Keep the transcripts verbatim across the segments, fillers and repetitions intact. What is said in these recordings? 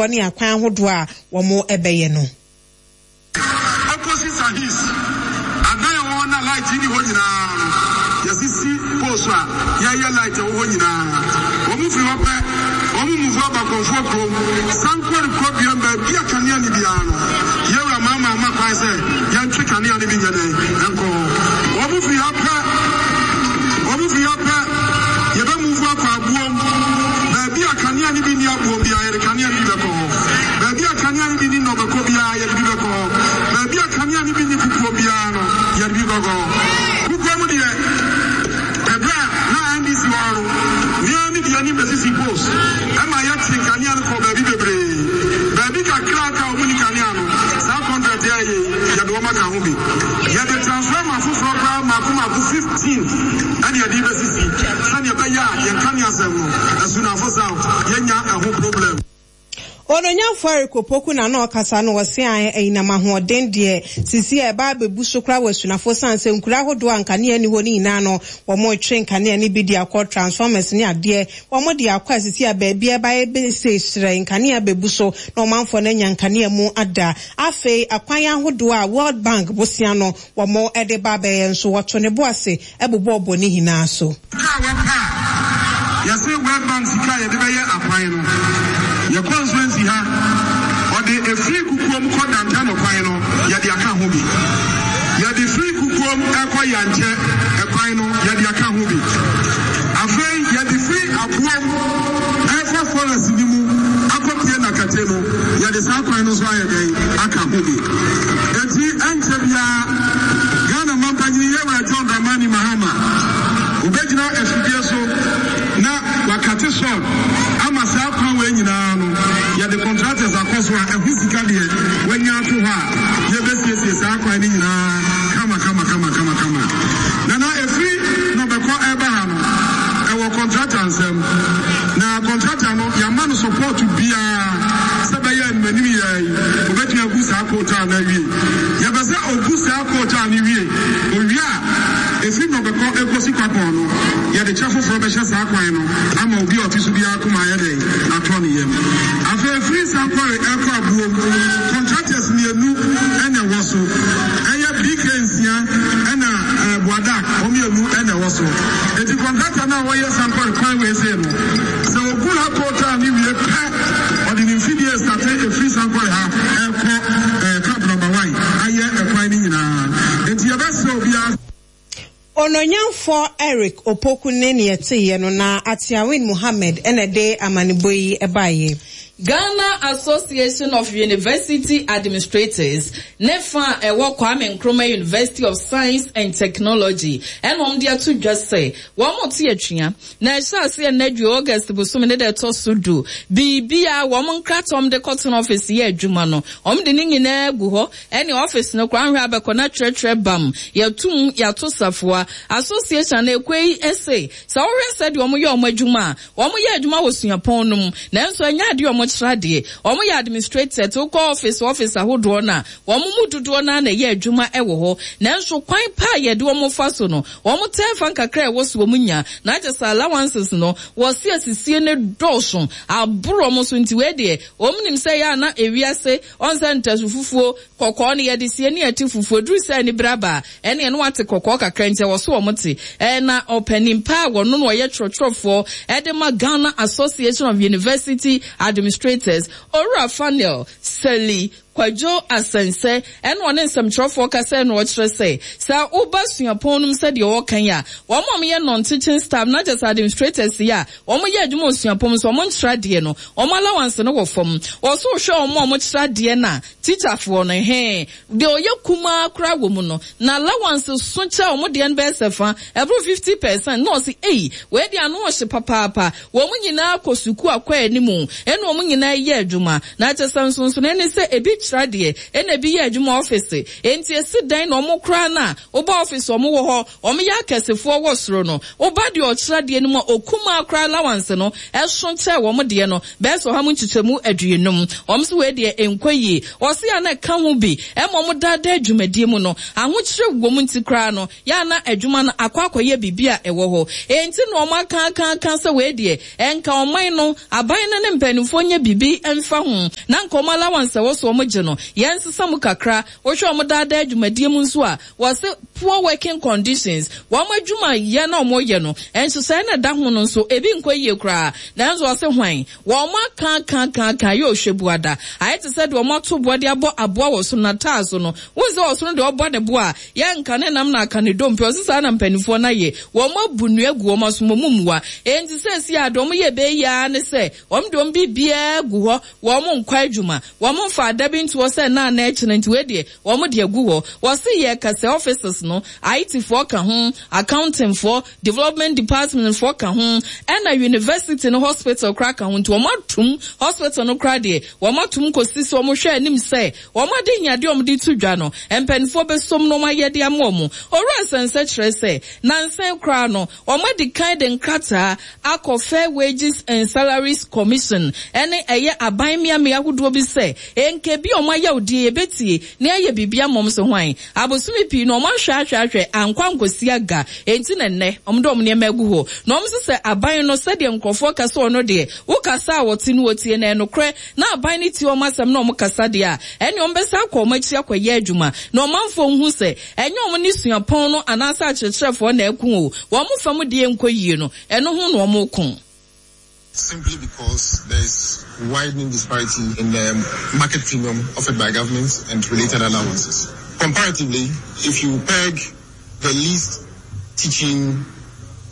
Ne akwan ahodoɔ a wɔn bɛyɛ no. Opposite Ahis, adan a ɛwɔ hɔ na light nni hɔ nyinaa no, yɛasisi poles a yɛreyɛ light ɛwɔ hɔ nyinaa. Wɔn firi hɔ pɛ, wɔn move aba Kɔmfoɔ kurom, Sankore Kuroduam, baabi a kanea nni biara no, Yɛwura Mahama ama kwan sɛ yɛntwe kanea no bi nyɛ dɛn nkɔ hɔ. Wɔn firi ha pɛ, wɔn firi ha pɛ, yɛbɛ move akɔ Aboom, baabi a kanea no bi nni Aboom biara, yɛde kanea no bi bɛkɔ hɔ. Baabi a kanea no bi nni Nnɔbɛkɔ biara, yɛde bi bɛkɔ hɔ. Baabi a kanea no bi nni Kukuom biara no, yɛde bi bɛkɔ hɔ. Kukuom deɛ, ɛberɛ a na N D C wɔ hɔ no, me ara mede anim bɛsisi post ma yɛtwe nkanea no kɔɔ baabi bebree. Baabi kakra a aka a wɔnni kanea no, saa contract yi a yɛyɛ yi, yɛde wɔn aka ho bi. Yɛde transformer foforɔ koraa mmaako mmaako fifteen ɛna yɛde rebɛsisi sɛdeɛ ɛbɛyɛ a yɛn kanea asɛm no, Asunafo South, yɛnnya ɛho problem. Ononyamfo Eric Opoku na na ɔkasa no. Wɔse an anyinam ahoɔden deɛ sisi a ɛba abɛbu so koraa wɔ Asunafo, san sɛ nkura ahodoɔ a nkanea ni hɔ no nyinaa no, wɔn retwe nkanea no bi de akɔ, transformers ne adeɛ wɔn de akɔ a sisi a baabi a ɛba ɛbɛsɛ hyerɛn, nkanea bɛbu so na ɔmanfoɔ no anya nkanea mu ada. Afei akwan ahodoɔ a World Bank bosia no wɔn de ba abɛyɛ nso, wɔto ne bo ase ɛbobɔɔbɔ ne nyinaa so. Sika a wɔpɛ a yɛse World Bank sika a yɛde bɛyɛ akwan no, yɛ constituency ha, ɔde efiri Kukuom kɔ Dantano kwan no, yɛde aka ho bi. Yɛde firi Kukuom ɛkɔ Yankyɛ ɛkwan no, yɛde aka ho bi. Afei yɛde firi Aboom ɛfa forest ni mu akɔpie Nakate no, yɛde saa kwan no nso ayɛ dɛn aka ho bi. Eti ɛnkyɛ biara Ghana mampanyin Yɛwura John Dramani Mahama obɛgyina afidie so na wakate sod ama saa kwan wei nyinaa no, yɛde contractors akɔ so a ɛho sika deɛ wanya ato hɔ a yɛbɛsiesie saa kwan no nyinaa kama kama kama kama kama. Nana, efiri na ɔbɛkɔ ɛba ha no, ɛwɔ contractor nsɛm na contractor no yɛama no support biara sɛ bɛyɛ animanim yɛ yi obɛtumi agu saa coal tar no awie. Yɛbɛ sɛ ogu saa coal tar no wie, owie a, efi na ɔbɛkɔ ekosi Kwapɔn no, yɛde kyɛ foforɔ bɛhyɛ saa kwan no ama obi a ɔte so biara koma ayɛ dɛn atɔ ne yam. Afei efiri Sankɔre ɛkɔ Abuom, contractors mmienu ɛna ɛwɔ so, ɛyɛ B K nsia ɛna ɛɛ Boadak, wɔn mmienu ɛna ɛwɔ so. Eti contractor no a wɔyɛ Sankɔre kwan wei sei no, sɛ ogu ha coal tar no wie pɛ, ɔde ne mfidie start efiri Sankɔre ha ɛkɔ ɛɛ Camp Number One ayɛ ɛkwan no nyinaa. Eti yɛbɛsrɛ obiara. Ononyamfoɔ Eric Opoku ne neɛ teeɛ no na Atiawin Muhammed ɛna de amanebɔ yi ɛbaeɛ. Ghana Association of University Administrators ne fa a ɛwɔ Kwame Nkrumah University of Science and Technology ɛna wɔn de ato dwa sɛ wɔn te atwea na ɛhyɛ aseɛ nnadwo August bosom ne da ɛtɔ so du biribi a wɔn nkrataa wɔn de kɔtena office yɛ adwuma no, wɔn de ne nyinaa gu hɔ. Ɛne office no koraa nhwɛ abɛkɔ na twerɛtwerɛ bam, yɛtum yɛato safoa. Association na ekɔ yi ɛsɛ sɛ wɔhwɛ sɛdeɛ wɔn yɛ wɔn adwuma a wɔn yɛ adwuma wɔ suapɔn no mu, nanso ɛnyɛ adeɛ wɔn kyerɛ adeɛ. Wɔn yɛ administrator te wokɔ office office ahodoɔ no a, wɔn mu dodoɔ naa na ɛyɛ adwuma ɛwɔ hɔ, nanso kwan pa a yɛde wɔn fa so no, wɔn tɛn fa nkakra a ɛwɔ so wɔn nya na agye sɛ allowances no wɔsi asisie ne dɔɔso aboro wɔn so. Nti wei deɛ, wɔn nim sɛ yɛ ana ewiase ɔnsɛ ntasu fufuo kɔkɔɔ no yɛde sie ne yɛte fufuo duru sɛ ani braba ɛne ɛno ate kɔkɔɔ kakra, nti ɛwɔ so wɔn te. Ɛna ɔpanin pa a wɔno no ɔyɛ twerɛtwerɛfoɔ ɛde ma Ghana Association of University Administrators, Owura Faniel Seli Kwadwo Asɛnsɛ, ɛna ɔne nsɛmtwerɛfoɔ kasa na ɔkyerɛ sɛ sɛ woba suapɔn no mu sɛdeɛ wɔka yi a, wɔn a wɔyɛ non-teaching staff na kyerɛ sɛ administrators yi a wɔn yɛ adwuma wɔ suapɔn mu so wɔn nkyerɛ adeɛ no, wɔn allowance no wɔ fam. Wɔso hwɛ wɔn a wɔkyerɛ adeɛ no a, teacherfoɔ no hɛn deɛ ɔyɛ kumaa koraa wɔ mu no na allowance so kyɛ wɔn deɛ no bɛyɛ sɛ fa ɛboro fifty percent na ɔsi eyi wei deɛ ano ɔhye papaapa. Wɔn nyinaa kɔ sukuu akɔ anim ɛna wɔn nyinaa yɛ adwuma na kyerɛ sɛ nsonsono ne sɛ ebi kyerɛ adeɛ, ɛna ebi yɛ adwuma ɔfese. Enti esi dɛn na wɔn koraa no a woba ɔfese wɔn wɔ hɔ, wɔn yɛ akɛsefoɔ wɔ soro no, woba deɛ ɔkyerɛ adeɛ no mu a, okumaa koraa allowance no ɛso kyɛ wɔn deɛ no bɛyɛ sɛ ɔha mu nkyekyɛmu aduonum. Wɔn nso wei deɛ ɛnkɔ yie. Wɔse a na ɛka ho bi ɛma wɔn daadaa dwumadie mu no, ahokyerɛ wɔ mu nti koraa no, yɛ a na adwuma no akɔ akɔyɛ biribi a ɛwɔ hɔ. Enti na wɔn aka aka aka sɛ wei deɛ ɛnka ɔman no, aban no ne mpanimfoɔ nyɛ biribi mfa ho, na nka wɔn allowance a ɛwɔ so wɔn gye no, yɛnsesa mu kakra. Wohwɛ wɔn daadaa dwumadie mu nso a, wɔse poor working conditions, wɔn adwuma yɛ na wɔn yɛ no, nhyehyɛe na ɛda ho no nso, ebi nkɔ yie koraa. Nanso wɔse hwan? Wɔn aka aka aka aka yɛ ɔhwɛ buada. Ayɛ te sɛ deɛ wɔn ato boɔ de abɔ aboa wɔ soro n'ataa so no. Wohu sɛ ɔsoro deɛ ɔbɔ ne bo a, yɛnka ne nam na aka ne dompe. Ɔse saa na mpanimfoɔ no ayɛ. Wɔn abu nnua gu wɔn aso, wɔn mmua. Enti seesei a deɛ wɔn yɛ bɛyɛ yia ne sɛ, wɔn de wɔn biribiara gu hɔ, wɔn nkɔ adwuma. Wɔn mfa ada bi nto hɔ sɛ nna na ɛkyerɛ nti wei deɛ wɔn de agu hɔ. Wɔse yɛ kɛsɛ offices no, I T foɔ ka ho, accounting foɔ, development department foɔ ka ho, ɛna university no hospital koraa ka ho. Nti wɔn atum hospital no koraa deɛ, wɔn atum kɔsi sɛ wɔn hwɛ anim sɛ wɔn ade hiadeɛ wɔn de to dwa no, mpanimfoɔ bɛsom na wɔn ayɛ de ama wɔn. Owura Nsɛnsɛ kyerɛ sɛ, nansa koraa no, wɔn adi kan de nkrataa akɔ Fair Wages and Salaries Commission ɛne ɛyɛ aban mmeammea ahodoɔ bi sɛ, nka bi a wɔn ayɛ odie yɛbɛtie na yɛayɛ biribi ama wɔn so hwan. Abosome pii no wɔn ahwɛ ahwɛ ahwɛ ankɔ ankɔsi aga. Enti na nnɛ wɔn de wɔn nneɛma agu hɔ. Na wɔn nso sɛ aban no sɛdeɛ nkurɔfoɔ kasa ɔno deɛ, wokasa a wɔte no wɔtie na ɛnokorɛ na aban no tie wɔn asɛm na wɔn kasa deɛ a, ɛne wɔn bɛsa akɔ wɔn akyi akɔyɛ adwuma. Na ɔmanfoɔ nhu sɛ ɛnyɛ wɔn ne suapɔn no anaasɛ akyerɛkyerɛfoɔ na ɛko o. Wɔn fam deɛ nkɔ yie no, ɛno ho na wɔn ko. Simply because there is widening disparity in the market premium offered by government and related allowances. Comparatively, if you peg the least teaching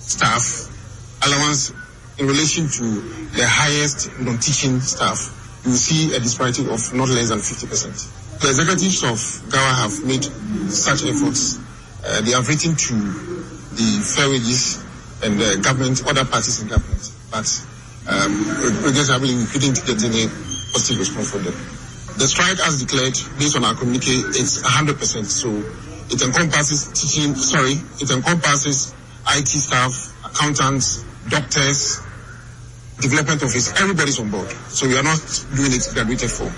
staff allowance in relation to the highest non-teaching staff, you will see a disparity of not less than fifty percent. The executives of GAWA have made such efforts. Uh, they have written to the Fair Wages and the government, other parties in government, but um, regrettably we couldn't get any positive response from them. The strike, as declared, based on our communique, is a hundred percent. So it encompasses teaching, sorry, it encompasses I T staff, accountants, doctors, development office, everybody's on board. So we are not doing it graduated form.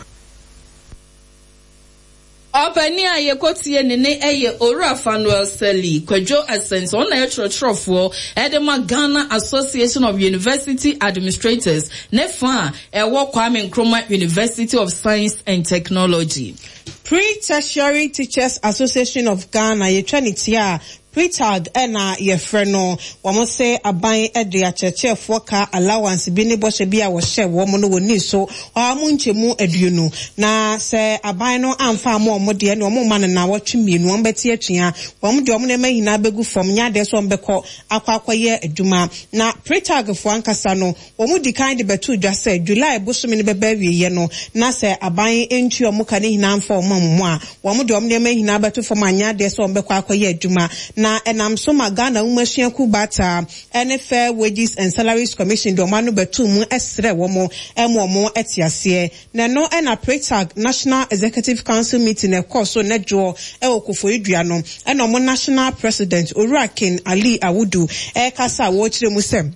Ɔpanin a yɛkɔtie ne ne ɛyɛ Owura Fanuel Seli Kwadwo Asɛnso, ɔno na yɛ kyerɛkyerɛfoɔ ɛde ma Ghana Association of University Administrators ne fa a ɛwɔ Kwame Nkrumah University of Science and Technology. Pre-Tertiary Teachers Association of Ghana yɛtwa ne tia a P R E T A G ɛna yɛfrɛ no. Wɔn se aban ɛde akyerɛkyerɛfoɔ ka allowance bi ne bɔhyɛ bi a wɔhyɛ wɔn no wɔ ni so ɔha mu nkyɛmu aduonu. Na sɛ aban no amfa ama wɔn deɛ, ne wɔn mma no na wɔtwe mmienu, wɔn bɛte atua. Wɔn deɛ wɔn nneɛma nyinaa bɛgu fam, nyɛ adeɛ sɛ wɔn bɛkɔ akɔ akɔyɛ adwuma. Na P R E T A G foɔ ankasa no, wɔn di kan de bɛto dwa sɛ July bosome no bɛba awieeɛ no, na sɛ aban ntua wɔn ka ne nyinaa mfa wɔn amu a, wɔn deɛ wɔn nneɛma nyinaa bɛto fam anyɛ adeɛ sɛ wɔn bɛkɔ akɔyɛ adwuma. Na ɛnam so ma Ghana Nwomasuakuo Baata ɛne Fair Wages and Salaries Commission de wɔn ano bɛto mu ɛsrɛ wɔn ɛma wɔn ɛte aseɛ. Na ɛno ɛna P R E T A G National Executive Council meeting ɛkɔɔ so nnɛdwoɔ ɛwɔ Koforidua no, ɛna wɔn National President Owura Ken Ali Awudu ɛrekasa a wɔrekyerɛ mu sɛ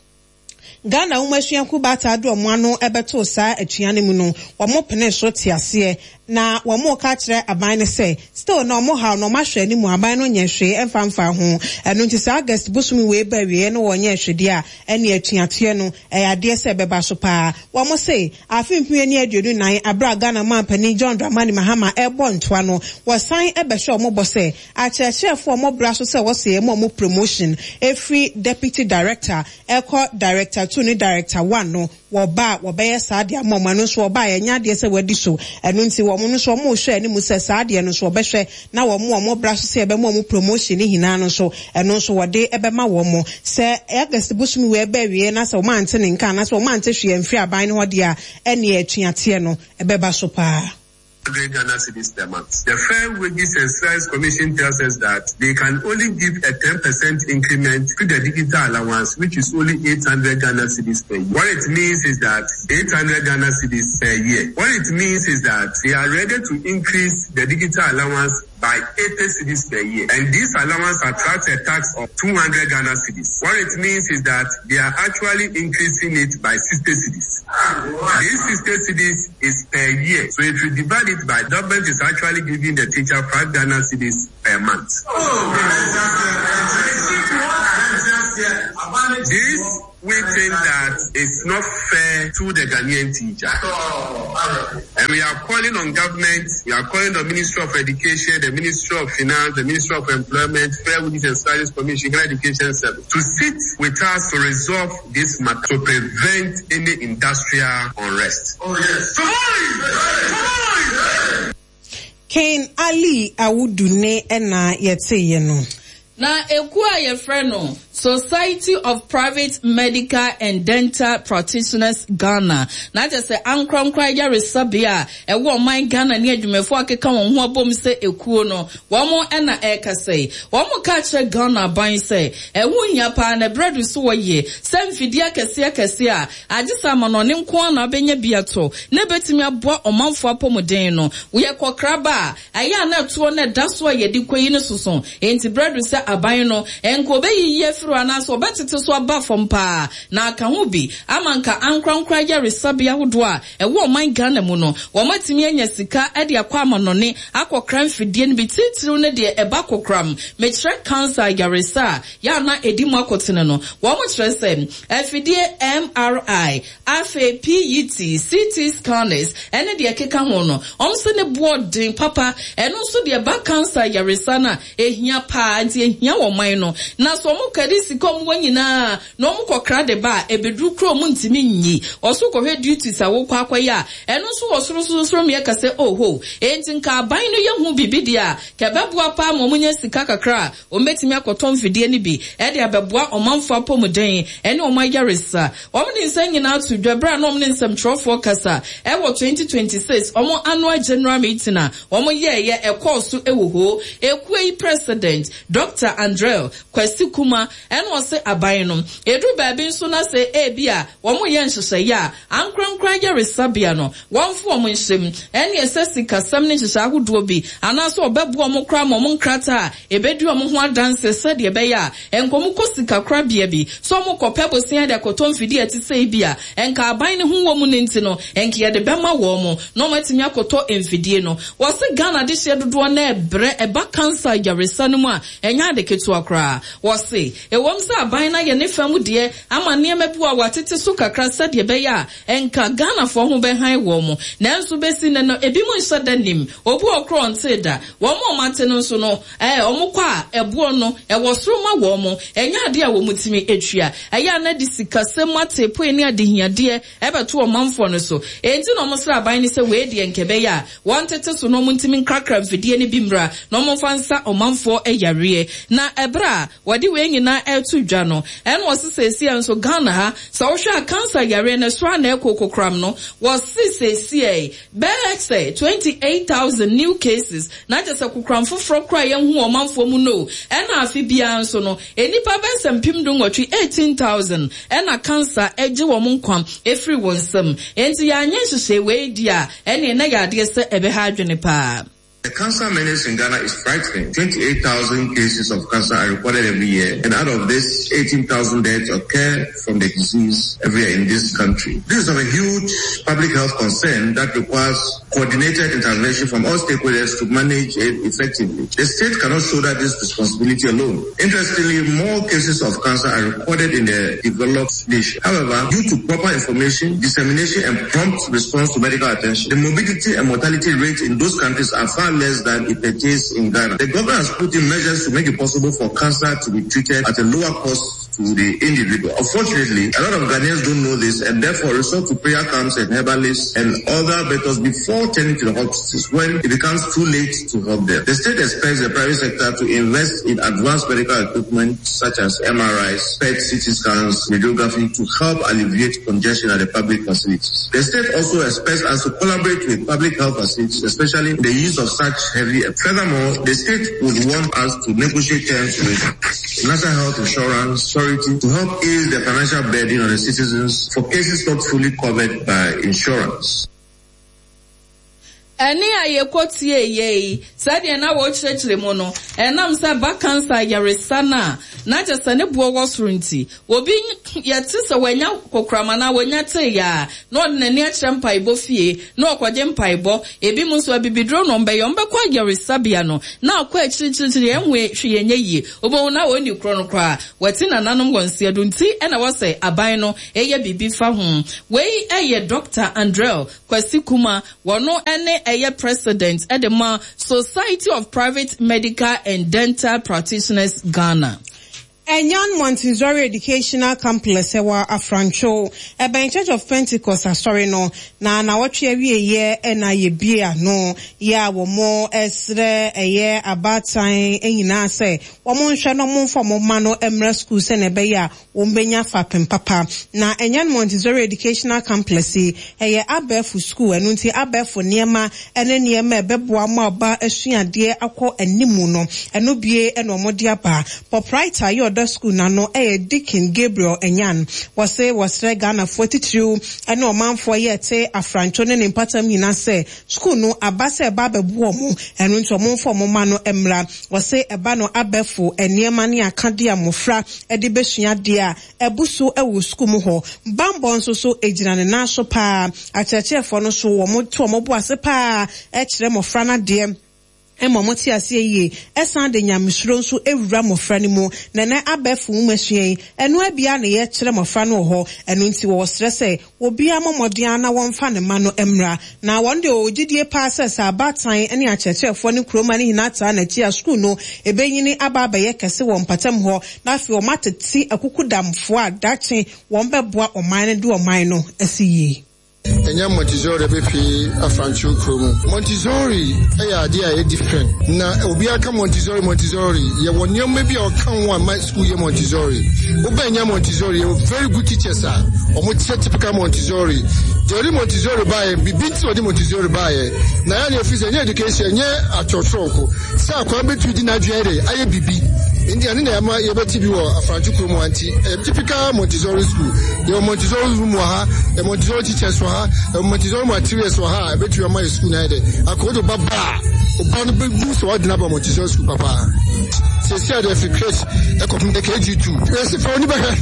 Ghana Nwomasuakuo Baata de wɔn ano ɛbɛto saa atua no mu no, wɔn pene so te aseɛ. Na wɔn ka kyerɛ aban no sɛ still na wɔn haw na wɔn ahwɛ anim aban no nyɛ hwee ɛmfa mfa ho. Ɛno nti saa August bosome wei ba awieeɛ no wɔnyɛ hwee deɛ a, ɛne atuateɛ no ɛyɛ adeɛ sɛ ɛbɛba so paa. Wɔn se afe mpem ne aduonu nan abere a Ghana manpanin John Dramani Mahama ɛrebɔ ntoa no, wɔsan ɛbɛhyɛ wɔn bɔ sɛ akyerɛkyerɛfoɔ a wɔn bra so sɛ wɔsɛ ɛmu wɔn promotion efiri deputy director ɛkɔ director two ne director one no, wɔba a wɔbɛyɛ saa deɛ ama wɔn. Ɛno nso wɔba a yɛnyɛ adeɛ sɛ wɔadi so. Ɛno nti wɔn nso wɔn rehwɛ anim sɛ saa adeɛ no nso wɔbɛhwɛ na wɔn a wɔn bra so sɛ yɛbɛma wɔn promotion ne nyinaa no nso, ɛno nso wɔde ɛbɛma wɔn. Sɛ August bosome wei ɛbɛ awie na sɛ wɔn ante ne nka anaasɛ wɔn ante hwee amfiri aban no hɔ deɛ a, ɛne atuateɛ no ɛbɛba so paa. hundred Ghana cedis per month. The Fair Wages and Salaries Commission tells us that they can only give a ten percent increment to the digital allowance, which is only eight hundred Ghana cedis per year. What it means is that eight hundred Ghana cedis per year. What it means is that they are ready to increase the digital allowance by eighty cedis per year. And this allowance attracts a tax of two hundred Ghana cedis. What it means is that they are actually increasing it by sixty cedis. This sixty cedis is per year. So if you divide it by, government is actually giving the teacher five Ghana cedis per month. This, we think that it's not fair to the Ghanaian teacher. And we are calling on government, we are calling on the Ministry of Education, the Ministry of Finance, the Ministry of Employment, Fair Wages and Salaries Commission, Ghana Education Service, to sit with us to resolve this matter, to prevent any industrial unrest. Oh, yes. Ken Ali Awudune ena yete yeno. Na ekuo a yɛfrɛ no Society of Private Medical and Dental Practitioners Ghana. Na kyerɛ sɛ ankorankora ayaresabea a ɛwɔ ɔman Ghana ne adwumayɛfoɔ akeka wɔn ho abom sɛ ekuo no, wɔn ɛna ɛrekasa yi. Wɔn ka kyerɛ Ghana aban sɛ ɛho hia paa na ɛberɛ do so wɔyɛ sɛ mfidie akɛseɛ akɛseɛ a agye sɛ amanɔne nko ara na abɛnya bi ato na ebɛtumi aboa ɔmanfoɔ apɔmuden no. Woyɛ kɔkraba a ɛyɛ a na ɛtoɔ na ɛda so a yɛde kɔ yi no soso. Enti berɛ do sɛ aban no nka obeyiyi afiri anaasɛ ɔbɛtete so aba fam paa na aka ho bi ama nka ankorankora ayaresabea ahodoɔ a ɛwɔ ɔman Ghana mu no wɔn atumi anya sika de akɔ amanɔne akɔkra mfidie no bi titiriw ne deɛ ɛba kokram mekyerɛ cancer ayaresa a yɛana edi mu akɔtene no. Wɔn kyerɛ sɛ afidie M R I, afei P E T, C T scanners ɛne deɛ ɛkeka ho no wɔn nso ne boɔ den papa. Ɛno nso deɛ ɛba cancer ayaresa no a ehia paa nti ehia wɔ man no na so wɔn kadi sika wɔn wɔ nyinaa na wɔn kɔkra de ba a ebeduru kuro mu ntumi nyi ɔso kɔhwɛ duties a wɔkɔ akɔyɛ a ɛno nso wɔ soro soro soro mmea kɛse oho enti nka aban no yɛ ho bibi deɛ a kɛbɛboa paa ma wɔn nya sika kakra a wɔn bɛtumi akɔtɔ mfidie no bi ɛde abɛboa ɔmanfoɔ apɔmuden ɛne wɔn ayaresa. Wɔn de nsa nyinaa to dwa bere a na wɔn ne nsɛmtwerɛfoɔ kasa ɛwɔ twenty twenty six wɔn annual general meeting a wɔn yɛɛyɛ ɛkɔɔ so ɛwɔ hɔ. Ekuo yi president Doctor Andrel Kwesi Kuma ɛna ɔse aban no edu baabi nso na sɛ ebi a wɔn yɛ nhyehyɛeɛ a ankorankora ayaresabea no wɔn fo wɔn nhyɛm ɛne ɛsɛ sikasɛm ne nhyehyɛ ahodoɔ bi anaasɛ ɔbɛboa wɔn koraa ma wɔn nkrataa a ebedi wɔn ho adanse sɛdeɛ ɛbɛyɛ a nkɔmɔ kɔ sikakorabea bi so wɔn kɔpɛ bosia de akɔtɔ mfidie a ɛte sɛ bi a nka aban ne ho wɔ mu ne nti no nka yɛde bɛma wɔn mo na wɔn atumi akɔtɔ mfidie no. Wɔse Ghana de hyɛ dodoɔ na ɛbrɛ ɛba cancer ayaresa no mu a ɛnyɛ ade ketewa koraa. Wɔse ɛwɔm sɛ aban na yɛ ne fam deɛ ama nneɛma bi wɔ watete so kakra sɛdeɛ ɛbɛyɛ a nka Ghanafoɔ ho bɛhan wɔn mo, nanso bɛsi nnɛ no ebi mu nhyɛ da nim obi wɔ korɔ nte da wɔn a wɔate no nso no ɛɛ wɔn kɔ a ɛboɔ no ɛwɔ soro ma wɔn mo ɛnyɛ adeɛ a wɔn tumi atua ɛyɛ a na de sikasɛm ateepoe ne adehiadeɛ ɛbɛto ɔmanfoɔ no so. Enti na wɔn srɛ aban no sɛ wei deɛ nkɛbɛyɛ a wɔn tete so na wɔn ntumi nkrakra mfidie no bi mmra na wɔn mfa nsa ɔmanfoɔ ayareɛ. Na ɛberɛ a wɔde wei nyinaa ɛto dwa no ɛna wɔse seesie nso Ghana ha sɛ wohwɛ a cancer yareɛ no so a na ɛkɔ kokram no wɔse seesie bɛyɛ sɛ twenty eight thousand new cases na kyerɛ sɛ kokram foforɔ koraa yɛnhu ɔmanfoɔ mu no ɛna afe biara nso no enipa bɛyɛ sɛ mpem du nwɔtwe eighteen thousand ɛna cancer ɛgye wɔn nkwa efiri wɔn nsam. Enti yɛanyɛ nhyehyɛe wei di a ɛne na yɛ adeɛ sɛ ɛbɛha adwene paa. The cancer menace in Ghana is frightening. twenty-eight thousand cases of cancer are recorded every year, and out of this, eighteen thousand deaths occur from the disease every year in this country. This is of a huge public health concern that requires coordinated intervention from all stakeholders to manage it effectively. The state cannot shoulder this responsibility alone. Interestingly, more cases of cancer are recorded in the developed nation. However, due to proper information, dissemination, and prompt response to medical attention, the morbidity and mortality rates in those countries are far less than it pertains in Ghana. The government has put in measures to make it possible for cancer to be treated at a lower cost to the individual. Unfortunately, a lot of Ghanaians don't know this and therefore resort to prayer camps and herbalists and other methods before turning to the hospitals when it becomes too late to help them. The state expects the private sector to invest in advanced medical equipment such as M R Is, P E T, C T scans, radiography to help alleviate congestion at the public facilities. The state also expects us to collaborate with public health facilities, especially the use of such heavy. Furthermore, the state would want us to negotiate terms with National Health Insurance Authority to help ease the financial burden on the citizens for cases not fully covered by insurance. Eni ayekotie yei sɛdeɛ na wɔkyerɛkyerɛ mu no ɛnam sɛ ba cancer yaresa na na kyɛ sɛ ne boɔ wɔ soro nti obi yɛte sɛ wanya kokrama na wanya te ya na ɔde n'ani akyerɛ mpaebɔ fie na ɔkɔgye mpaebɔ ebi mu nso abibiduro no ɔmbɛyɛ ɔmbɛkɔ ayaresabea no na akɔ akyirikyirikyiri ɛnwe hwee nyɛ yie obɛhu na wɔnni korɔ no koraa wɔte nananom wɔ nseɛ do nti ɛna wɔsɛ aban no ɛyɛ biribi fa ho. Wei ɛyɛ Doctor Andrel Kwasi Kuma wɔno ɛne ɛyɛ president at the Society of Private Medical and Dental Practitioners Ghana. Enyan Montessori Educational Complex ewa Afrancho eben Church of Pentecost asori no na na wotwe awie ye na ye bie ano ya wo mo esre eye abatan enyina se wo mo nhwe no mo mfo mo ma no emra school se na ebe ya wo mbenya fapem papa na Enyan Montessori Educational Complex eye abefu school enu nti abefu niema ene niema ebeboa mo aba asuade akọ animu no eno bie eno mo de aba proprietor yo school na no eh Deacon Gabriel Enyan wose wosre Ghana forty-two ene omanfo ye te afrancho ne mpatam nyina se school no aba se ba bebu omo eno nto omfo mo ma no emra wose eba no abefo eniema ne akade amofra e de besua de a ebuso ewo school mu ho bambo nso so egina ne na so pa akyerɛkyerɛfo no so wo mo to omo bo ase pa e kyerɛ mofra na de emo moti ase ye esan de nyamesuro nso ewura mofra ni mu na na abɛfo nwumasua eno abia na ye kyerɛ mofra no ho eno nti wo srɛ sɛ obi amomɔden na wɔmfa ne ma no emra na wɔn de ogidie pa sɛ sɛ abatan ne akyerɛkyerɛfo ne kroma ne hinata na chi a school no ebenyini aba abɛyɛ kɛse wɔ mpatam hɔ na afi wɔn atete akukudamfo a dakye wɔn bɛboa ɔman ne de ɔman no asi yie. Enya Montessori bepi afrancho kromu. Montessori eya ade a different. Na obi aka Montessori Montessori ye won nneoma bi a ɔka ho a my school ye Montessori. Oba enya Montessori ye very good teachers a. Omo typical Montessori. The only Montessori bae bi binti odi Montessori bae. Na ya ne office enya education nye atwotwo ko. Sa akwa betu di na adwere aye bibi. Ndi ani na ma ye beti bi wo afrancho kromu anti. Typical Montessori school. Ye Montessori room wa ha, ye Montessori teachers wa ha. Montessori materials were high. I bet you are my school now. I called to Baba. Obama be so I Montessori school, Papa. Say, I have a come the K G two. Yes, for any better.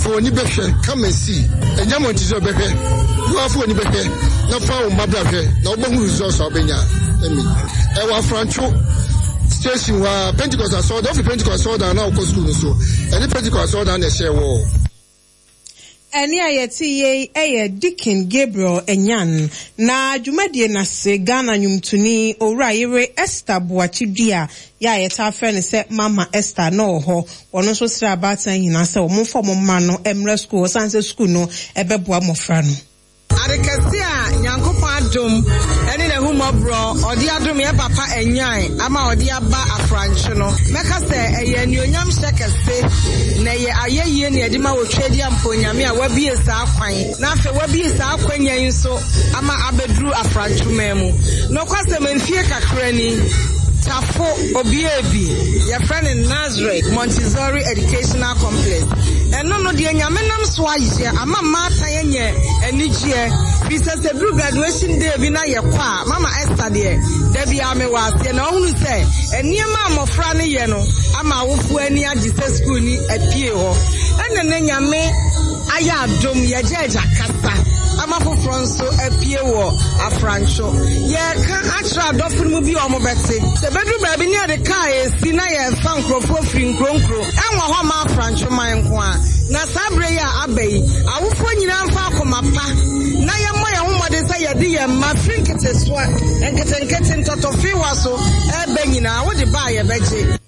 For any better, come and see. And you Montessori better. You are for any better. No found Mabra. No one results are Benya. I was Franco station where Pentecost I saw the Pentecost saw down now school so. And the Pentecost saw down the share wall. Eni ayeti ye eye Deacon Gabriel Enyan na dwumadie na se Ghana nwumtuni owura yere Esther Boachidua ya yeta afre ne se Mama Esther no ho wono nso sra abatan hina se wo mfo mo ma no emra school sanse school no ebeboa mofra no. Adekese a Nyankopɔn adom ene na humobro ɔde adom ye papa enyan ama ɔde aba afrancho no meka sɛ ɛyɛ anuonyam hyɛ kɛse na ɛyɛ ayɛyie ne ɛde ma wotwedi ampo Nyame a wabie saa kwan na afei wabie saa kwanya yi nso ama abeduru afrancho ma mu no kwasɛm mfie kakra ni Tafo Obiebi, your friend in Nazareth, Montessori Educational Complex. And no, no, dear Yamenam Swaye, ama mata yenye, enijie, bisa se blue graduation day bina ye kwa, Mama Esther dear, Debbie Ame was, and only say, and near Mamma Franny Yeno, ama wufu eni ajise school ni epie ho. And then Yame, aya dom ye jeja kasa. Ama foforo nso apie wo afrancho ye ka atra adofo mu bi omo bete se bedru ba bi ne ade ka esi na ye fa nkrofo firi nkronkro enwo ho ma afrancho man nko a na sabre ya abayi awofo nyina mfa akoma pa na ye mo ye homode sɛ ye de ye ma firi nketesoa nketenkete ntotofi wa so ebe nyina wo de ba ye beje.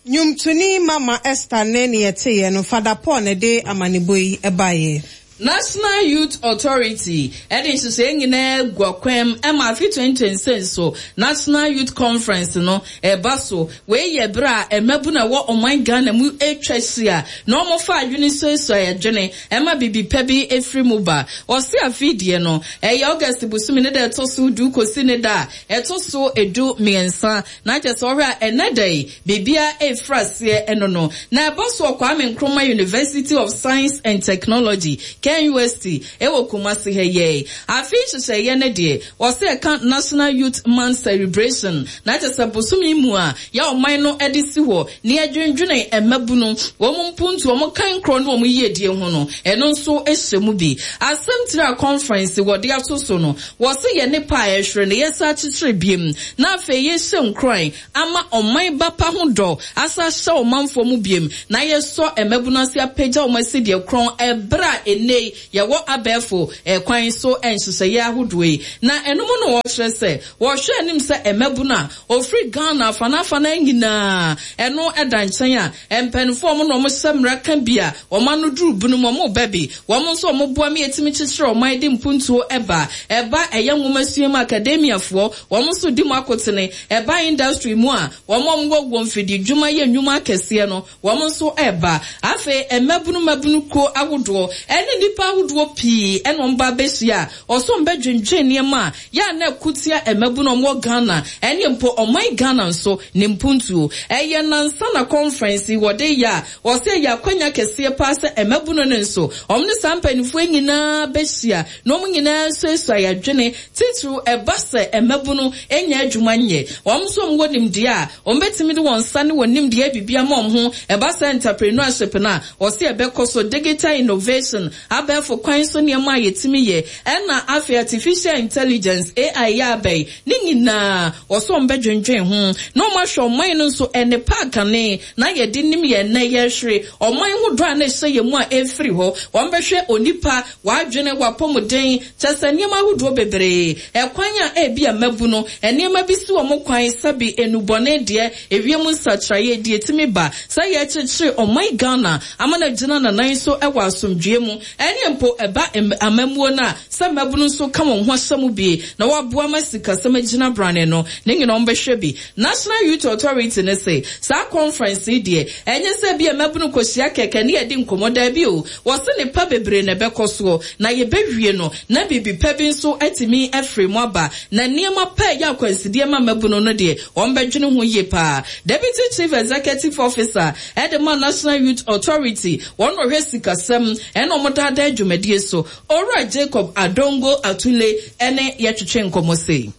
Nnwomtoni Mama Esther nne ne yɛteeɛ no, Fada Paul na ɛde amanebɔ yi baeɛ. National Youth Authority de nhyehyɛe nyinaa agu akwan mu ma afe twenty twenty six so National Youth Conference no reba so. Wei yɛ bere a mmabun a ɛwɔ ɔman Ghana mu retwa ahyia na wɔfa adwene suasua adwene ma biribi pa bi firi mu ba. Wɔse afe yi deɛ no, ɛyɛ August bosome ne da a ɛtɔ so du kɔsi ne da a ɛtɔ so du mmiɛnsa. Na kyerɛ sɛ wohwɛ a ɛnnɛ da yi, biribiara refiri aseɛ ɛno no. Na ɛba so wɔ Kwame Nkrumah University of Science and Technology, KNUST, ɛwɔ Kumasi ha yi ara yi. Afe yi nhyehyɛeɛ no deɛ, wɔse ɛka National Youth Month Celebration, na kyerɛ sɛ bosome yi mu a yɛ ɔman no de si hɔ na yɛdwendwene mmabunu, wɔn mpuntuo, wɔn kankorɔ ne wɔn yiedie ho no, ɛno nso hyɛ mu bi. Asɛm tiri a conference wɔde ato so no, Wɔse yɛ nnepa a ɛhwere na yɛsan akyekyere biem na afei yɛhyɛ nkuran ama ɔman ba pa ho dɔ asan ahyɛ ɔmanfoɔ mu biem na yɛsɔ mmabunu ase apagya wɔn asi deɛ korɔn ɛberɛ a ɛnnɛ yi yɛwɔ abɛɛfo kwan so nhyehyɛeɛ ahodoɔ yi. Na ɛno mu na wɔkyerɛ sɛ wɔhwɛ anim sɛ mmabunu a wɔfiri Ghana afanaafanaa nyinaa ɛno da nkyɛn a mpaninfoɔ a wɔn na wɔhyɛ mmara ka bi a wɔn ano duru binom wɔn ba bi. Wɔn nso wɔboa ma yɛtumi kyekyere ɔman de mpuntuo ba. Ɛba ɛyɛ nwomasua mu akademiafoɔ, wɔn nso di mu akotene. Ɛba industry mu a, wɔn a wɔwɔ wɔ mfididwuma yɛ nnwuma akɛseɛ no, wɔn nso ba. Afei mmabunu mmabunu kuo ahodoɔ ne nnipa ahodoɔ pii na wɔn ba bɛhyia a, wɔsɛ wɔn bɛdwendwen nneɛma a yɛ a na ɛko tia mmabunu a wɔwɔ Ghana ne mpo ɔman Ghana nso ne mpuntuo. Ɛyɛ nnansa na conference yi wɔde yɛ a, Wɔse ɛyɛ akwanya kɛseɛ paa sɛ mmabunu no nso, wɔn ne saa mpaninfoɔ yi nyinaa bɛhyia na wɔn nyinaa asuasua yɛn adwene, titiriw ɛba sɛ mmabunu nnya adwuma nyɛ. Wɔn nso wɔn wɔ nimdeɛ a wɔbɛtumi de wɔn nsa ne wɔn nimdeɛ ayɛ biribi ama wɔn ho. Ɛba sɛ entrepreneurship no a, wɔse ɛbɛkɔ so, digital innovation, abɛɛfo kwan so nneɛma a yɛtumi yɛ, ɛna afei artificial intelligence, A I, yɛ aba yi, ne nyinaa wɔse wɔbɛdwendwen ho na wɔahwɛ ɔman no nso nnepa akane na yɛde nim yɛn nnɛ, yɛrehwere ɔman ho dɔ a na ɛhyɛ yɛn mu a ɛrefiri hɔ. Wɔbɛhwɛ onipa, w'adwene, w'apɔmuden, kyerɛ sɛ nneɛma ahodoɔ bebree. Ɛkwan a ebia mmabunu, nneɛma bi si wɔn kwan, sɛbe nnubɔne deɛ, ewiem nsakyeraeɛ deɛ ɛtumi ba sɛ yɛrekyekyere ɔman Ghana ama no agyina n'anan so wɔ asomdwoeɛ mu, ɛne mpo ɛba amammuo no a, sɛ mmabunu nso ka wɔn ho ahyɛ mu bi na wɔaboa ma sikasɛm agyina brane no, ne nyinaa wɔbɛhwɛ bi. National Youth Authority no se saa conference yi deɛ, ɛnyɛ sɛ ebia mmabunu kɔhyia kɛkɛ ne yɛdi nkɔmmɔ, daabi o, wɔse nnepa bebree na ɛbɛkɔ soɔ, na yɛbɛwie no na biribi pa bi nso atumi afiri mu aba, na nneɛma pa a ɛyɛ akwansideɛ ma mmabunu no deɛ, wɔbɛdwene ho yie pa ara. Deputy Chief Executive Officer de ma National Youth Authority, wɔn na wɔhwɛ sikasɛm ne wɔn daadaa dwumadie so, Owura Jacob Adongo Atule ne yɛtwetwe nkɔmmɔ sei.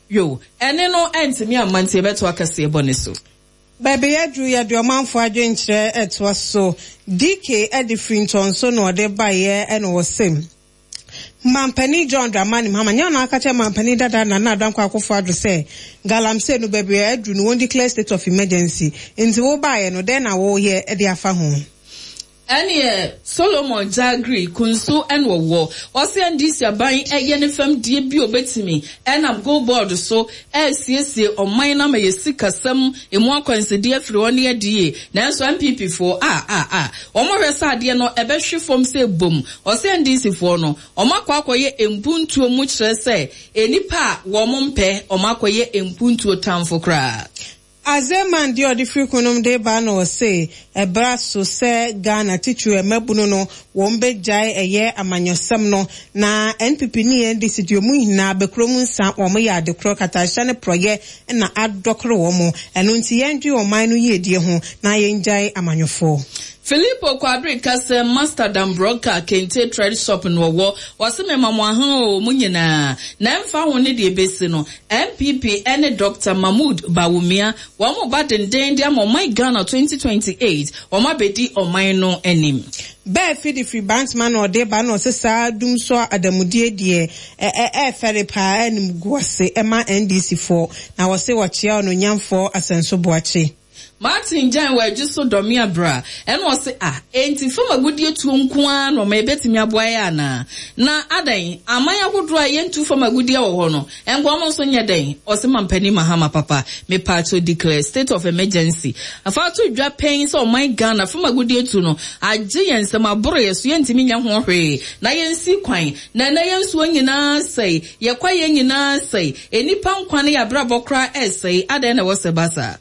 Yoh. Ɛnne no antumi amma nti yɛbɛtoa kaseɛbɔ no so. Baabi yɛaduru yɛde ɔmanfoɔ adwenkyerɛ retoa so. D K de firi Ntɔnso na ɔde baeɛ na ɔse, Mampanin John Dramani Mahama nyɛ ɔno aka kyerɛ mampanin dada Nana Addo Dankwa Akufo-Addo sɛ galamsey no baabi a aduru no wɔn declare state of emergency, nti wobaeɛ no dɛn na woyɛ de afa ho? Ɛneɛ Solomon Jagri Kunsu ɛna ɔwɔ. Ɔse N D C aban ɛyɛ ne fam deɛ bi obetumi ɛnam Gold Board so ɛresiesie ɔman no ama yɛ sikasɛm emu akwansideɛ afiri hɔ ne adie. Nanso N P P foɔ a a a wɔn hwɛ sɛ adeɛ no ɛbɛhwe fam sɛ bom. Ɔse N D C foɔ no wɔn akɔ akɔyɛ mpuntuo mu kyerɛ sɛ nnipa a wɔn mpɛ wɔn akɔyɛ mpuntuo tamfo koraa. Azeman deɛ ɔde firi kunom de ba na ɔse ɛbra so sɛ Ghana titiri mmabunu no wɔn bɛgyae ɛyɛ amanyɔsɛm no na N P P ne N D C deɛ ɔmu nyinaa bɛkuro mu nsa wɔn yɛ adekorɔ katahyɛ ne porɔyɛ na adɔkoro wɔn, ɛno nti yɛndwe ɔman no yiedie ho na yɛngyae amanyɔfoɔ. Filippo Kwabere kasa Master Dambroka Kente Trade Shop no wɔwɔ wɔse mema mo ahan o mu nyinaa na ɛmfa ho ne deɛ ebesi no N P P ne Doctor Mahmood Bawumia wɔn mo ba denden de ama ɔman Ghana twenty twenty-eight wɔn abɛdi ɔman no anim. Bɛɛ fidi firi Bantama na ɔde ba na ɔsɛ saa dum so adamudie deɛ ɛɛfɛre paa ɛnim gu ase ɛma N D C foɔ na wɔse wɔkyea ɔno nyamfoɔ Asɛnso Boakye. Martin Jan wɔ adwo so dɔme abra ɛna ɔse ah enti fam agudie tuo nko ara na ɔma ebetumi aboa yɛ ana na adan aman ahodoɔ a yɛntu fam agudie wɔ hɔ no ɛnko ɔmo nso nyɛ dɛn ɔse mampanin Mahama papa mepaakyɛw declare state of emergency afa to dwa pɛn sɛ ɔman Ghana fam agudie tu no agye yɛn nsɛm aboro yɛ so yɛntumi nyɛ ho hwee na yɛnsi kwan na ɛnɛ yɛn nsuo nyinaa sɛe yɛkwa yɛn nyinaa sɛe enipa nkwa ne yɛabrabɔ koraa ɛsɛe adan na ɛwɔ sɛ basa.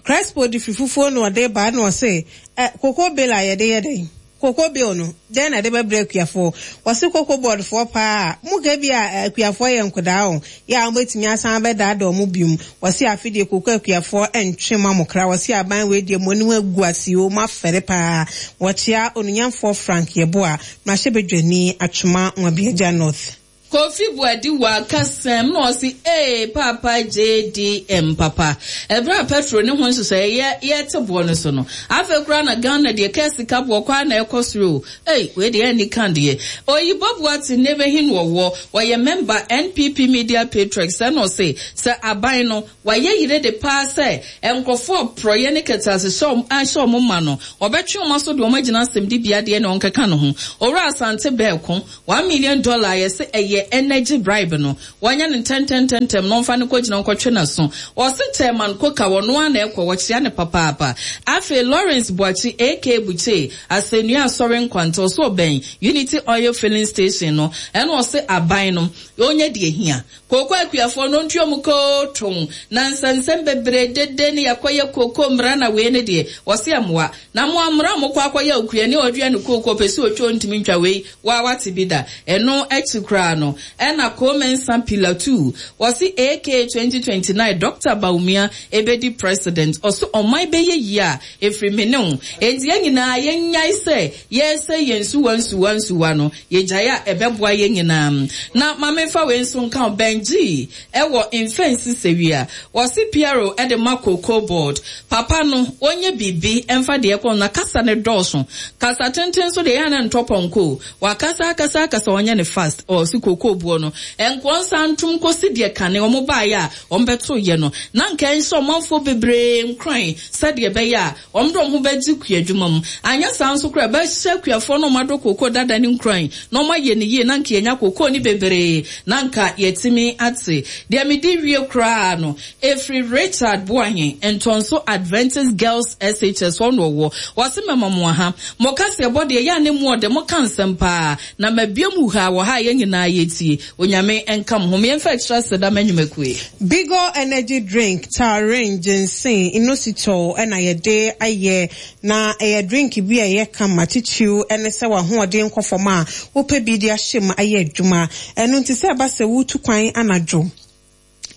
Crespo de fi fufuo na ɔde ba na ɔse ɛ cocoa bill a yɛde yɛ dɛn cocoa bill no dɛn na de bɛbrɛ akuafoɔ wɔse cocoa board foɔ paa mo ka bi a akuafoɔ yɛ nkodaa o yɛ a wɔbɛtumi asan bɛdaadaa ɔmo biom wɔse afe deɛ cocoa akuafoɔ ɛntwe ma mo kra wɔse aban wei deɛ mo anim agu ase o mo afɛre paa wɔkyea onunyamfoɔ Frank Yeboah mmarahyɛbadwani Atwima Nwabiagya North. Kofi Buadi wa kasɛm na ɔse ee papa J D M papa ɛberɛ a petrol ne ho nhyehyɛ yɛ yɛte boɔ no so no afei koraa na Ghana deɛ kɛ sika boɔ koraa na ɛkɔ soro ei wei deɛ ɛni kan deɛ Oyibo Boate ne bɛhin wɔwɔ wɔyɛ member N P P Media Patriots ɛna ɔse sɛ aban no wayɛ yire de paa sɛ nkurɔfoɔ porɔyɛ ne kɛtɛ ase ahyɛ ɔmo ma no ɔbɛtwe ɔmo aso de ɔmo agyina asɛm di bia deɛ na ɔnkeka ne ho. Owura Asante Bɛɛko one million dollar yɛsɛ ɛyɛ energy bribe no wɔnyɛ no ntɛntɛntɛntɛm na ɔmfa no kɔgyina nkɔtwe n'aso. Ɔse chairman Koka wɔno a na ɛkɔ wɔkyea ne papaapa. Afei Lawrence Boakye ak Buche Asɛnnua Asɔre Nkwanta ɔso ɔbɛn Unity Oil Filling Station no ɛna ɔse aban no ɔnyɛ deɛ hia kooko akuafoɔ no ntua mu kooton na nsɛnsɛm bebree dede ne yɛkɔyɛ kooko mmara na wei ne deɛ wɔse ɛmmoa na mo amra mo kɔ akɔyɛ okua ne ɔdua ne kooko pɛ sɛ otwa ntumi ntwa wei waa wate bi da. Ɛno akyi koraa no ɛna Komensa Pillar two wɔse ak twenty twenty-nine Doctor Bawumia ebedi president. Ɔso ɔman bɛyɛ yie a efiri me ne wo enti yɛn nyinaa yɛnyae sɛ yɛsɛ yɛn nsuwa nsuwa nsuwa no yɛgyae a ɛbɛboa yɛn nyinaa. Na maame fa wei nso nka Benji ɛwɔ mfɛnsi sɛwia wɔse P R O ɛde ma Cocoa Board papa no wɔnyɛ biribi ɛmfa deɛ kɔ na kasa ne dɔɔso kasa tenten so deɛ yɛn na ntɔ pɔnkɔ wakasa akasa akasa ɔnyɛ ne fast. Ɔsi cocoa boɔ no nkoɔ nsa ntom kɔsi deɛ kane wɔn baayɛ a wɔn bɛto yɛ no na nka nhyɛ ɔmanfoɔ bebree nkran sɛdeɛ ɛbɛyɛ a wɔn de wɔn ho bɛgye kua adwuma mu. Anyɛ saa nso koraa bɛhyɛ kuafoɔ no wɔn adɔ cocoa dada ne nkran na wɔn ayɛ ne yie na nka yɛnya cocoa ne bebree na nka yɛtumi ate deɛ medi wie koraa no. Efiri Richard Boahen Ntɔnso Adventist Girls S H S hɔ na ɔwɔ wɔsi mɛma mo aha mo kasa ɛbɔ deɛ yɛ a ne mu ɔde mo ka nsɛm paa na mabie mu ha wɔ ha yɛn nyinaa yɛtie Onyame nka mo ho mmiɛnfa ɛkyerɛ sɛ da mɛnwumakue. Bigo Energy Drink, taurine, ginseng, inositol ɛna yɛde ayɛ na ɛyɛ drink bi a ɛyɛ kama titiriw ɛne sɛ w'ahoɔden nkɔ fam a wopɛ bi de ahyɛ mu ayɛ adwuma. Ɛno nti sɛ ɛba sɛ wotu kwan anadwo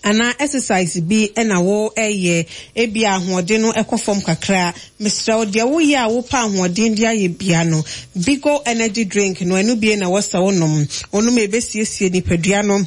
anaa exercise bi ɛna wo ɛyɛ ebi ahoɔden no ɛkɔ fam kakra, mesrɛ wo deɛ woyɛ a wopɛ ahoɔden de ayɛ bia no, Bigo Energy Drink no ɛno bie na wɔsɛ wonom wonom ebesiesie nipadua no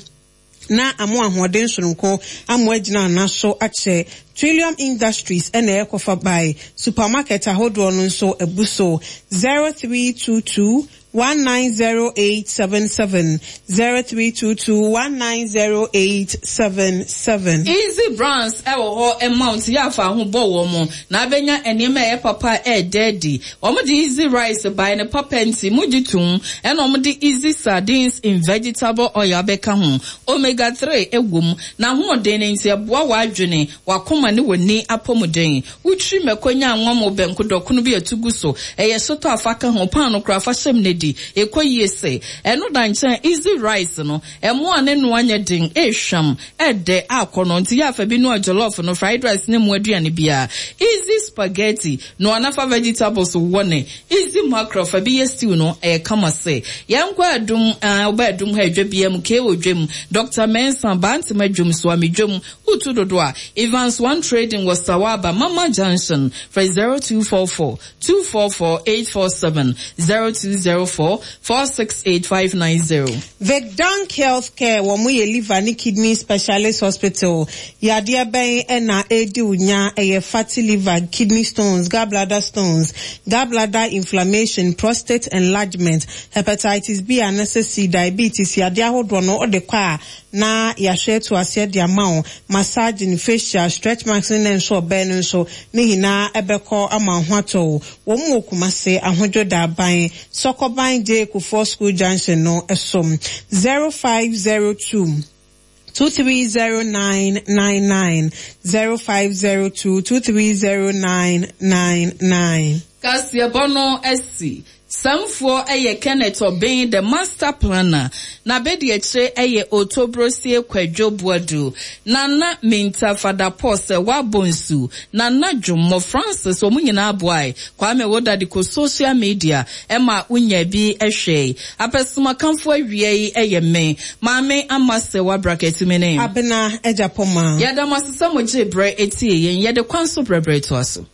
na amo ahoɔden soronko amo agyina ana so akyɛ. Trillium Industries ɛna ɛkɔfa by supermarket ahodoɔ no nso abu so. zero three two two one nine zero eight seven seven, zero three two two one nine zero eight seven seven. Easy Brands ɛwɔ hɔ ɛma nti yɛ afa ho bɔ wɔn mo na abɛnya nneɛma ɛyɛ papa ɛɛdɛ adi. Wɔn de Easy Rice ban ne papa nti mo gye tum ɛna wɔn de Easy Sardines in vegetable oil abɛka ho. Omega three ɛwɔ mu na ahoɔden ne nti ɛboa w'adwene wakoma ne w'ani apɔmuden. Wotwi mɛkɔ nya anwa mo bɛnko dɔkono bi atu gu so ɛyɛ sotɔ afa ka ho paano koraa fa hyɛm ne di ɛkɔ yie sɛ ɛno da nkyɛn. Easy Rice no ɛmo a ne noa nyɛ den ehwam ɛdɛ akɔ no nti yɛ afa bi noa jollof no, fried rice ne mu aduane biara. Easy Spaghetti noa nafa vegetables wɔ ne Easy Mackerel fa bi yɛ stew no ɛyɛ kama sɛ yɛnkɔ Adum ɔba Adum ha adwa bia mu kee wɔ dwam Doctor Mensa Bantama dwom so amedwam wotu dodo a Evans One Trading wɔ Sawaba Mama Junction frɛ zero two four four two four four eight four seven zero two zero. four four six eight five nine zero. Vicdank Healthcare wɔn yɛ liver ne kidney specialist hospital. Yadeɛ bɛn ɛna edi onya ɛyɛ fatty liver, kidney stones, gallbladder stones, gallbladder inflammation, prostate enlargement, hepatitis B anaasɛ C, diabetes, yadeɛ ahodoɔ no ɔde kɔ a na yɛahwɛ to aseɛ de ama wo massaging, facial, stretch marks ne nso ɔbɛn no nso ne nyinaa ɛbɛkɔ ama ho atɔ wo. Wɔn wɔ Kumase Ahodwo Daban, Sɔkɔban J Kufuor School Junction no ɛsom zero five zero two. two three zero nine nine nine zero five zero two two three zero nine nine nine. Kaseɛbɔ no asi. Samfoɔ ɛyɛ Kenneth Obeng, the master planner. Na bedi akyire ɛyɛ Otobrosie Kwadwo Boadu. Nana Minta Fada Paul sɛ wabɔ nsu. Nana Dwommo Francis wɔn nyinaa aboae. Kwame Woda de kɔ social media ɛma wonya bi ɛhwɛ. Apɛsomakamfo awia yi ɛyɛ me. Maame ama sɛ wabrakɛtumi ne. Abena Agyapɔma. Yɛda mo ase sɛ mo gye brɛ etie yɛn. Yɛde kwan so brɛbrɛ toa so.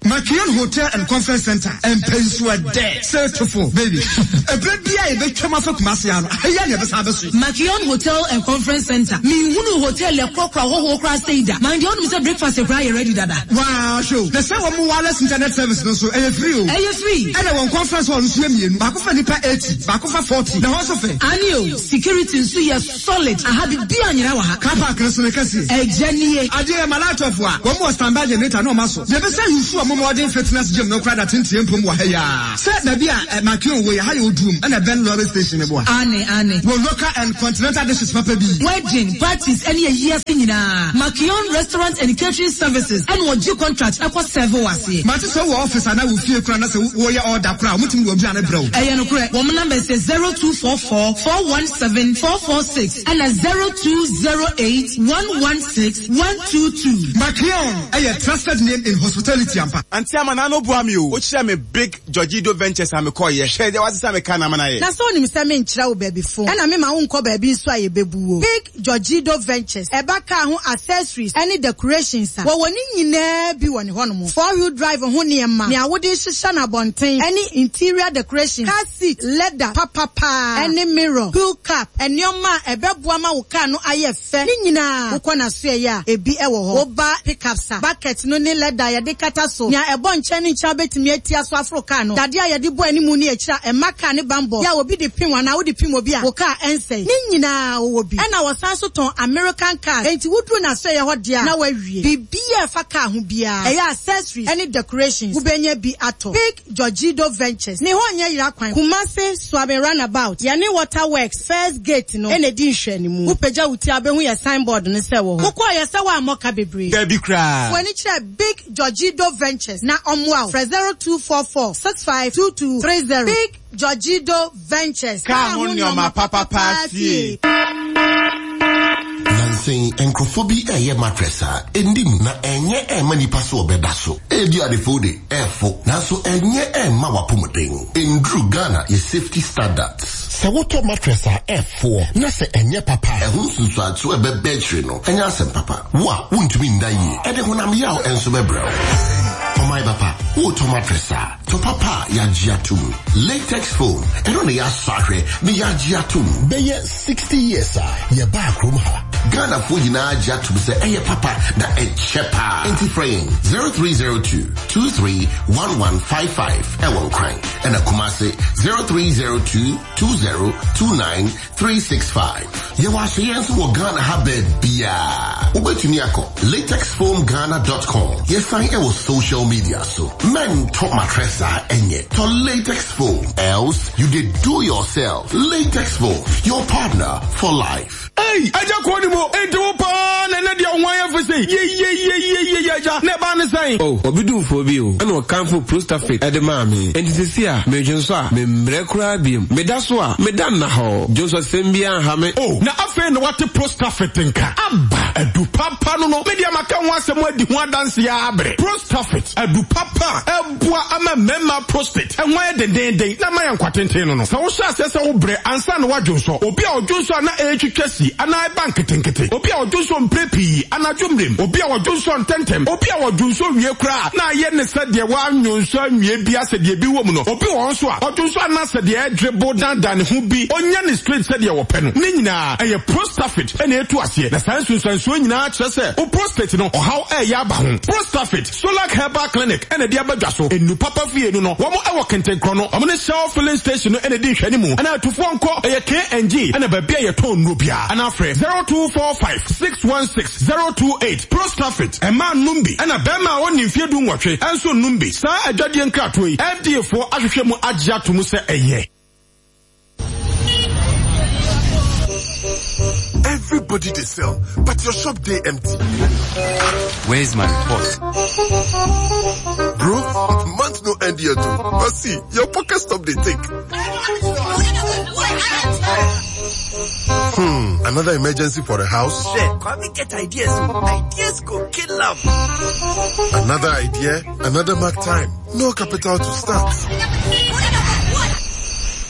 Makion Hotel and Conference Center mpɛnsu ɛdɛ sɛtofo baby ɛbrɛ bia yɛbɛtwam afa Kumase ano ɛyɛ ne yɛbɛsan abɛso. Makion Hotel and Conference Center mihunu hotel ɛkorɔkorɔ ahɔhoɔ koraa sɛ da man deɛ ɔnom sɛ breakfast koraa yɛ ready dada. Waa hwɛ o, na sɛ wɔn mo wireless internet service no so ɛyɛ free o. Ɛyɛ free. Ɛna wɔn conference hall nso yɛ mmienu, baako fa nipa eighty, baako fa forty, na hɔ nso fɛ. Ani o, security nso yɛ solid. Aha bibi anyina wɔ ha. Car park nso ne kɛseɛ. Ɛgya nie. Adeɛ yɛ malatɔfo a wɔn wɔ standby generator na wɔn aso. Yɛbɛsɛ yusu wɔn modern fitness gym no koraa da tenten mpom wɔ ha yaa. Sɛ baabi a Makion wɔ yɛ ha yɛ Oduom ɛna Ben lorry station ne boa. Ane ane. Wɔ local and continental dishes papa bi. Wedding parties ɛne ayi ase nyinaa. Makion Restaurant and Catering Services ɛna ɔgye contract ɛkɔ serve wɔ aseɛ. Mate sɛ wɔ office anaa wɔ fie koraa na sɛ wɔyɛ order koraa wɔn tumi wɔ aduane brɛ wo. Ɛyɛ nokorɛ. Wɔn number sɛ zero two four four four one seven four four six ɛna zero two zero eight one one six one two two. Makion ɛyɛ trusted name in hospitality ampa. Auntie ama na no boa me o. O kyerɛ me Big Georgido Ventures a me kɔ yɛ. Hwɛ deɛ wasesa me ka na ama na yɛ. Na sɛ onim sɛ menkyerɛ wo baabi fo ɛna mema wo nkɔ baabi nso a yɛbɛbu wo. Big Georgido Ventures ɛba car ho accessories ɛne decorations a wɔwɔ ne nyinaa bi wɔ ne hɔnom. Four wheel drive ho nneɛma nea wode hyehyɛ no abɔnten ɛne interior decoration, car seat, leather papapa ɛne mirror, wheel cap, nneɛma a ɛbɛboa ma wo car no ayɛ fɛ ne nyinaa wokɔ n'aso ɛyɛ a ebi ɛwɔ hɔ. Woba pickups a bucket no ne leather yɛde kata so nea ɛbɔ nkyɛn ne nkyɛn wobɛtumi atia so aforo car no. Dadeɛ a yɛde bɔ animu ne akyire a ɛma car ne bambɔ yɛ a obi de pim anaa wode pim obi a wo car ɛnsɛe ne nyinaa wɔwɔ bi. Ɛna wɔsan so tɔn American cars enti woduru n'aso ɛyɛ hɔ deɛ a na wawie. Biribiara a ɛfa car ho biara ɛyɛ accessories ɛne decorations wobɛnya bi atɔ. Big Georgido Ventures ne hɔ nyɛ yera kwan. Kumase Suaben Roundabout yɛne Waterworks first gate no ɛna edi nhwɛanimu. Wopagya wo ti a wobɛhu yɛ signboard no sɛ wɔ hɔ. Wokɔɔ yɛ sɛ woammɔ ka bebree. Dabi koraa. Fo ani kyerɛ Big Georgido Ventures na ɔmmoa wo. Frɛ zero two four four six five two two three zero. Big Georgido Ventures. Kaa ho nneɛma papapa fie. Nansen nkurɔfoɔ bi ɛyɛ mattress a ɛndim na ɛnyɛ ɛmma nipa so ɔbɛda so. Ebi adefo de ɛfo nanso ɛnyɛ ɛmma wapɔmuden. Nduru Ghana yɛ safety standards. Sɛ wotɔ mattress a ɛfoɔ na sɛ ɛnyɛ papa a, ɛho nsunsuanso a ɛbɛbɛ akyire no ɛnyɛ asɛm papa. Wo a wontumi nda yie ɛde honam yaw ɛnso bɛbrɛ wo. Ɔman papa, wotɔ mattress a tɔ papa a yɛagye atom. Latex foam ɛno na yɛasɔ ahwɛ na yɛagye atom. Bɛyɛ sixty years a yɛbaa kurom ha. Ghanafoɔ nyinaa gye atom sɛ ɛyɛ papa na ɛkyɛ paa. Enti frɛ yɛn zero three zero two two three one one five five ɛwɔ Nkran ɛna Kumase zero three zero two two zero two nine three six five. Yɛwɔ ahyɛyɛ nso wɔ Ghana ha baabiara. Wobɛtumi akɔ latex foam ghana dot com. Yɛsan ɛwɔ social media so. Mɛntɔ mattress a ɛnyɛ. Tɔ latex foam. Else you did do yourself. Latex foam, your partner for life. Hey, aja kɔ ni mo. Enti wo paa na ne deɛ wo ayɛ fɛ sɛ. Ye ye ye ye ye ye aja. Ne ba ne sɛn. Oh, obi dumfo bi o. Ɛna ɔkamfo Prostafit ɛde maa me. Enti sisi a medwe nso a membrɛ koraa biem. Meda so a meda nna hɔ. Dwonso sɛm bi anha me. Oh, na afei na wate Prostafit nka. Aba adu papa no no. Me deɛ maka ho asɛm adi ho adanse ya abrɛ. Prostafit adu papa ɛboa ama mmarima prostate. Ɛho ayɛ dendenden na ma yɛ nkwatenten no no. Sɛ wohyɛ aseɛ sɛ wobrɛ ansa na woadwonsɔ. Obi a ɔdwonsɔ a na ɛretwitwa si anaa ɛba nketenkete. Obi a ɔdwonsɔ mpere pii anadwo mmerem. Obi a ɔdwonsɔ ntɛntɛm. Obi a ɔdwonsɔ wie koraa na ayɛ ne sɛ deɛ woanwonsɔ anwie bi asɛ deɛ bi wɔ mu no. Obi wɔ hɔ nso a, ɔdwonsɔ anaasɛ deɛ ɛdrebo dandan ne ho bi, ɔnya ne straight sɛdeɛ wɔpɛ no. Ne nyinaa, ɛyɛ Prostafit na ɛtu aseɛ. Na saa nsunsuansoɔ nyinaa kyerɛ sɛ wo prostate no, ɔhaw reyɛ aba ho. Prostafit, Solac Herbal Clinic na ɛde aba dwa so. Nnu papa fie no no, wɔn wɔ Kentenkrɔ no, wɔn ne Shell Filling Station no na ɛdi nhwɛanimu. Anaa atufoɔ nkɔ, ɛyɛ K and G na baabi a yɛtɔn nnuro biara. Anaa frɛ zero two four five six one six zero two eight. Prostafit, mmaa nnom bi, ɛna barima a ɔnni mfeɛ du nwɔtwe nso nnom bi. Saa adwadie nkratoɔ yi, F D A foɔ ahwehwɛ mu agye ato mu sɛ ɛyɛ. Everybody they sell, but your shop they empty. Where's my report? Bro, month no end yet too. But see, your pocket stop they take. Hmm, another emergency for the house? Shit, Kwame get ideas. Ideas go kill them. Another idea, another mark time. No capital to start.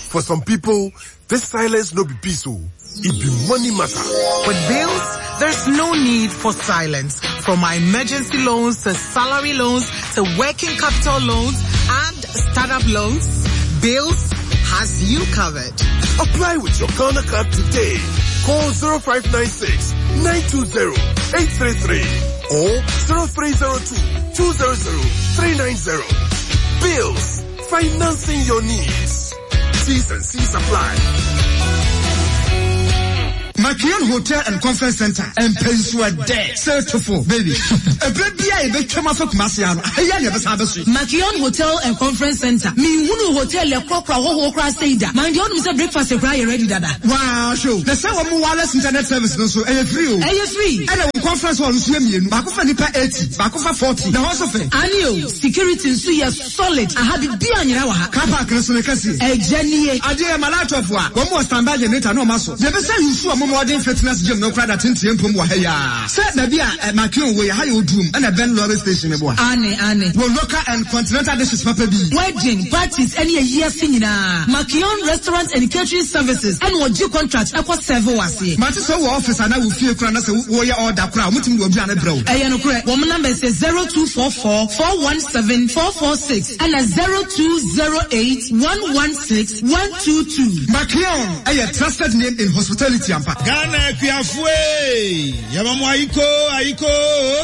For some people, this silence no be peace. Oh. It be money matter. With bills, there's no need for silence. From our emergency loans to salary loans to working capital loans and startup loans, Bills has you covered. Apply with your Ghana card today. Call zero five nine six, nine two zero, eight three three or zero three zero two, two zero zero, three nine zero. Bills, financing your needs. T's and C's apply. Makion Hotel and Conference Center and Pensua De Certifo baby. A baby I bet Kumasiano. Makion Hotel and Conference Center. Me hunu hotel le krokra ho ho kra seida. Man di onu se breakfast e kra ready dada. Wow, show. The same one wireless internet service no so e free o. E free. And the conference hall nso mienu. Baako fa nipa eighty, baako fa forty. Na ho so fe. Ani o, security nso ye solid. Aha bi bi anyira wa ha. Car park nso ne kase. E genie. Ade malatofo a, wo mo standby generator no ma so. Ye be say you modern fitness gym no crowd at ten pm wa ya. Say baby a Makion we ha yo drum and a Ben lorry station e boa. Ane ane. Wo local and continental dishes papa bi. Wedding parties any year nyina. Makion Restaurant and Catering Services and wo G contract e ko serve wase. Mate so wo office ana wo fie kura na say wo ye order kura mutim wo aduane brɛ wo. Eh no kura. Wo number is zero two four four, four one seven, four four six and zero two zero eight, one one six, one two two. Makion, a trusted name in hospitality. Ghana Kuafwe Yamamu Aiko Aiko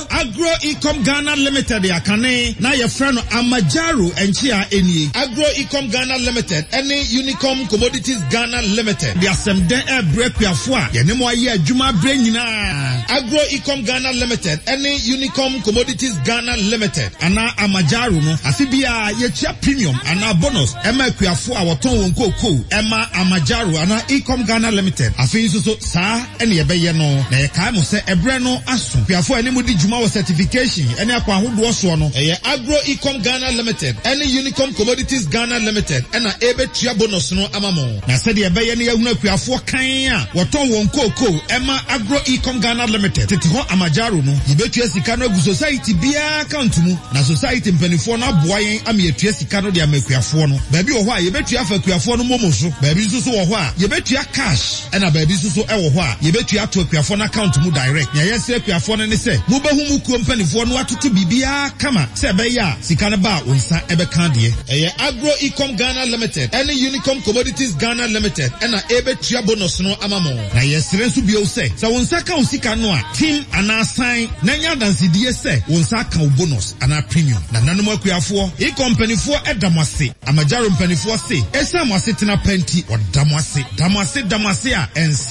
Agro Ecom Ghana Limited yakane na ye friend Amajaro enchia enie Agro Ecom Ghana Limited any Unicom Commodities Ghana Limited de asemde e bre kuafo a ye ne mo aye adwuma bre nyina Agro Ecom Ghana Limited any Unicom Commodities Ghana Limited ana Amajaro no asibia ye chia premium ana bonus ema kuafo a woton won koko ema Amajaro ana Ecom Ghana Limited afi nso so saa ene yebeye no na ye kai mo se ebre no aso kuafo ene mudi dwuma wo certification ene akwa ahodo so no eye Agro Ecom Ghana Limited ene Unicom Commodities Ghana Limited ena ebetua bonus no amamo na se de yebeye ne yahunu kuafo kan a woton won koko ema Agro Ecom Ghana Limited tete ho Amajaro no yebetua sika no agu society bia account mu na society mpanifo no aboa yen ameatua sika no de amakuafo no baabi wo ho a yebetua fa kuafo no momo so baabi nso so wo ho a yebetua cash ena baabi nso so ewo ho a yebetua to akuafo na account mu direct nya yɛsrɛ akuafo no ne sɛ mobɛhu mu kuo mpanifo no atoto bibia kama sɛ ɛbɛyɛ a sika no ba wo nsa ɛbɛka deɛ ɛyɛ Agro Ecom Ghana Limited ɛne Unicom Commodities Ghana Limited ɛna ɛbɛtua bonus no ama mo na yɛsrɛ nso bio sɛ sɛ wo nsa ka wo sika no a team anaa sign na nya adansedie sɛ wo nsa ka wo bonus anaa premium na nanom akuafoɔ Ecom mpanifoɔ ɛda mo ase Amajaro mpanifoɔ se ɛsiane mo ase tena pɛnti ɔda mo ase da mo ase da mo ase a ɛnsa